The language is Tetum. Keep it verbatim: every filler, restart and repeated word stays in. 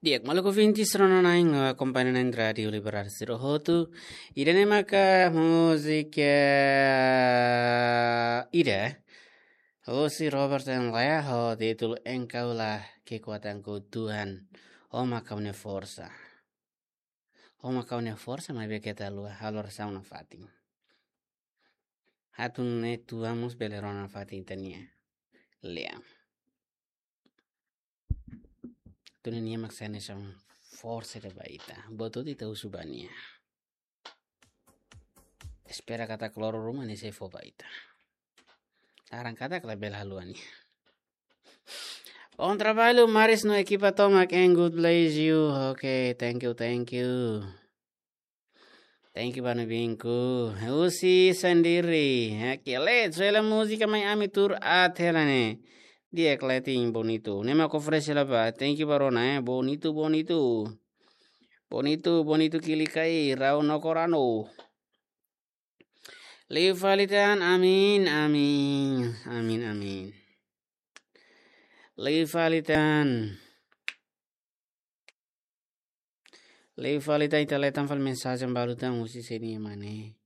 Di'ak, maluk ouvintes rona-na'in, akompaña na'in Rádiu Liberal sira hotu. Ida-ne'e maka múzika ida husi Robert N. Lee ho títulu Engkaulah Kekuatanku Tuhan, Ó maka ha'u-nia forsa. Ó maka ha'u-nia forsa, maibé keta haluha halo orasaun nafatin. Atu nune'e Tuhan mós bele rona nafatin ita-nia lean. Atu nune'e Nia mak sai hanesan forsa ida ba ita. Buat hotu ita husu ba Nia. Espera katak loron ruma Nia sei fó ba ita. Laran katak labele haluha Nia. Bom trabalho, Maris no ekipa tomak, and God bless you. Okay, thank you, thank you. Thank you, Banu Binku. Husi Sendiri. Oke, let's hela múzika mai ami tuur aat hela ne'e. Di'ak, Letin, bonito. Ne'e mak oferese hela ba. Thank you, Barona, eh. Bonito, bonito. Bonito, bonito, kilikai, rau no korano. Liu fali tan, amin, amin, amin, amin. Liu fali tan. Liu fali tan, ita leten fali mensajen balu tan husi sé nian mak ne'e.